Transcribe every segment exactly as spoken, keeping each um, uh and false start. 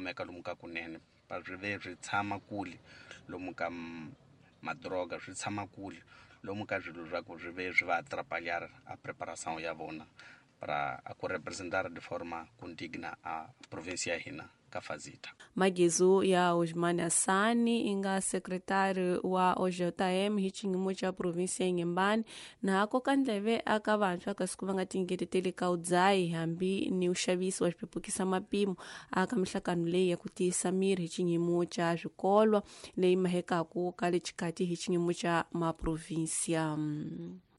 kumeka lomu ka kunene pa swi ve swi tshama kule lomu ka madroga swi tshama kule lomu ka swilo swa ku swi ve swi va atrapalhar a preparação ya vona para a ku representar de forma condigna a província ya hina ka Fazita. Magezu ya Osman Assani inga secretário wa O J M hi xiyimo xa província ya Inhambane na koka ndleve aka vantshwa kasi ku va nga tingeteteli ka udzayi hambi ni uxavisi wa swipepukisa mapimo aka mihlangano leyi ya ku tiyisa miri hi xiyimo xa swikolwa leyi mahekaku ka le xikati hi xiyimo xa maprovíncia.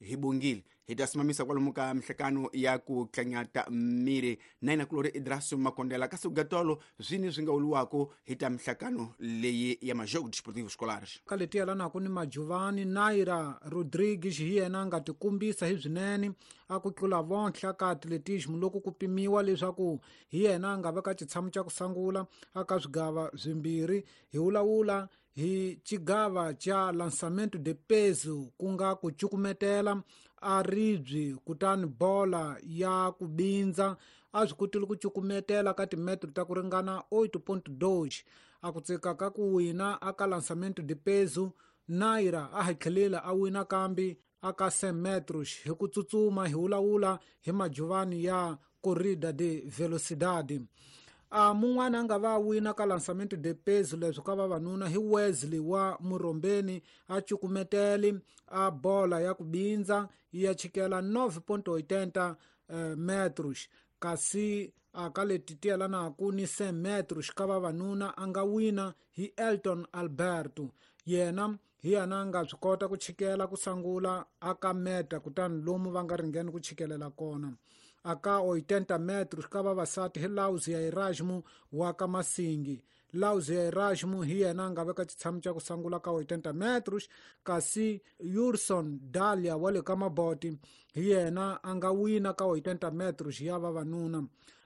Hi bongile hi ta simamisa kwalomu ka mihlekano ya ku tlanyata miri na ina kulori Idraso Makondela kasi gatolo zwini swi nga uliwako hi ta mihlekano leyi ya majogo desportivo escolares ka leti yelanaka ni Majuvani Naira Rodrigues hi yena a nga tikumbisa hi swinene a ku tlula vonhla ka atletismo loko ku pimiwa leswaku hi yena a nga veka xitshamo xa ku sungula aka swigava swimbirhi hi vulavula hi xigava xa lançamento de peso ku nga ku cukumetela a ribyi kutani bola ya ku bindza a swi kotile ku cukumetela ka timetro ta ku ringana oito ponto dois a ku tsika ka ku wina aka lançamento de peso Naira a hatlhelela a wina kambi aka cem metros hi ku tsutsuma hi vulavula hi Majuvani ya corrida de velocidade. A mun'wana a nga va wina ka lançamento de peso leswi ka vavanuna hi Wesley wa Murombeni a cukumeteli a bola ya ku bindza ya chikela nove ponto oitenta eh, metros kasi a ka leti ti yelanaka ni cem metros ka vavanuna a nga wina hi Elton Alberto yena hi yena a nga swi kota ku chikela ku sungula aka meta kutani lomu va nga ringeni ku chikelela kona aka oitenta metros ka vavasati hi Lauzia Erasmo wa ka Masingi. Lauzia Erasmo hi yena a nga veka xitshamo xa ku sungula ka oitenta metros kasi Yurson Dalia wa le ka Maboti hi yena a nga wina ka oitenta metros ya vavanuna.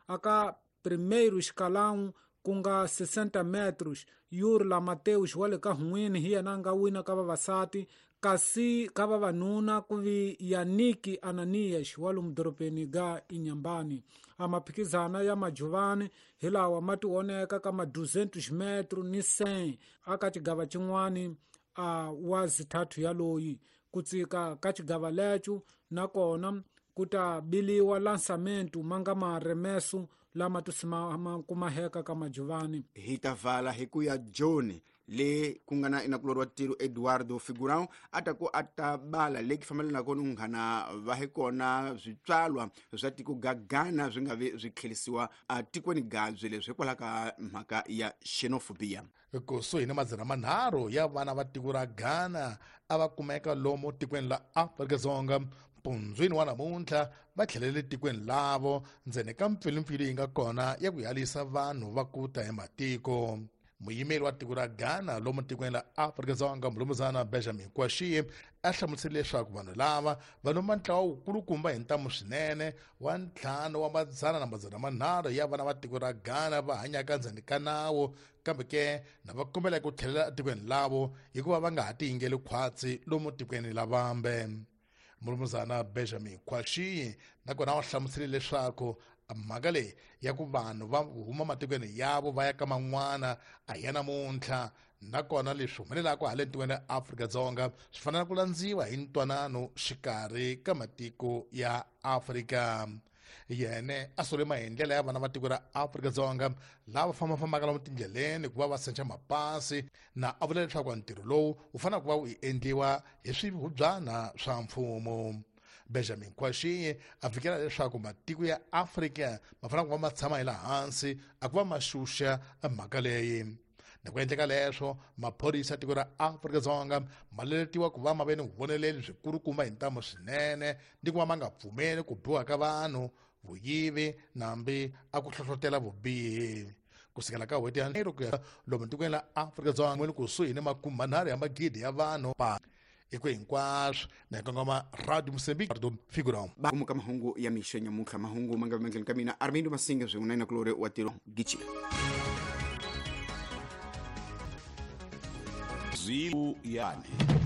Aka primeiro escalão ku nga sessenta metros Yurla Mateus wa le ka Hunwini hi yena a nga wina ka vavasati kasi ka vavanuna ku vi Yannick Ananias wa lomu dorobeni ga Inhambane. A maphikizana ya Majuvani hi lawa ma tioneka ka ma duzentos metro ni cem aka xigava xin'wani a wa zithathu ya loyi ku tsika ka xigava lecho nakona ku ta biliwa lançamento ma nga maremeso lama tusimama kumaheka ka Majuvani. Hi ta vala hi ku ya John le ku nga na inakulori wa tiro Eduardo Figurão a ta ku a ta bala le fambelana ni nghana va hi kona switswalwa swa tiko ga Ghana swi nga vi swi tlherisiwa atikweni gabyi leswi hikwalaho ka mhaka ya xenophobia. Kusuhi ni madzana manharhu ya vana va tiko ra Ghana a va kumeka lomu tikweni la Afrika-Dzonga mpundzwini wa namuntlha va tlhelele tikweni lavo ndzeni ka mpfilumpfilu yi nga kona ya ku yalisa vanhu va ku ta hi matiko. Muyimeri wa tiko ra Ghana lomu tikweni la Afrika-Dzonga mulumuzana Benjamin Kwashie a hlamusele leswaku vanhu lava va lomba ntlawa wukulukumba hi ntamu swinene wa ntlhanu wa madzana na madzana manharhu ya vana va tiko ra Ghana va hanyaka ndzeni ka nawu kambe ke na va kombela ku tlhelela etikweni lavo hikuva va nga ha tiyingeli khwatsi lomu tikweni la vambe. Mulumuzana Benjamin Kwashie nakona wa hlamusele leswaku mhaka leyi ya ku vanhu va huma matikweni yavo va ya ka man'wana a hi ya namuntlha nakona leswi humelelaka hala tikweni ra Afrika-Dzonga swi fanele ku landziwa hi ntwanano xikarhi ka matiko ya Afrika. Yene a sole maendlelo ya vana va tiko ra Afrika-Dzonga lava fambafambaka lomu tindleleni ku va va sencha mapasi na a vula leswaku ntirho lowu wu fanele ku va wu endliwa hi swihubyana swa mfumo. Benjamin Kwashie a fikela leswaku matiko ya Afrika ma fanele ku va ma tshama hi laha hansi a ku va ma xuxa mhaka leyi. Na ku endleka leswo maphorisa tiko ra Afrika-Dzonga ma leletiwa ku va ma ve ni vuvoneleli byikulukumba hi ntamu swinene ni ku va ma nga pfumeli ku biwa ka vanhu vuyivi nambi a ku hlohlotela vubihi. Kusukela ka n'hweti ya nharhu ku ya lomu tikweni la Afrika-Dzonga ni kusuhi ni makume manharhu ya magidi ya vanhu pa iko hinkwaswo na kongoma Radio Mozambique Figurão. Ba ka mahungu ya mixo nyamuntlha mahungu ma nga mandleni ka mina Armindo Masinga swin'we na inakulori wa tiro Gichi. Zero yani.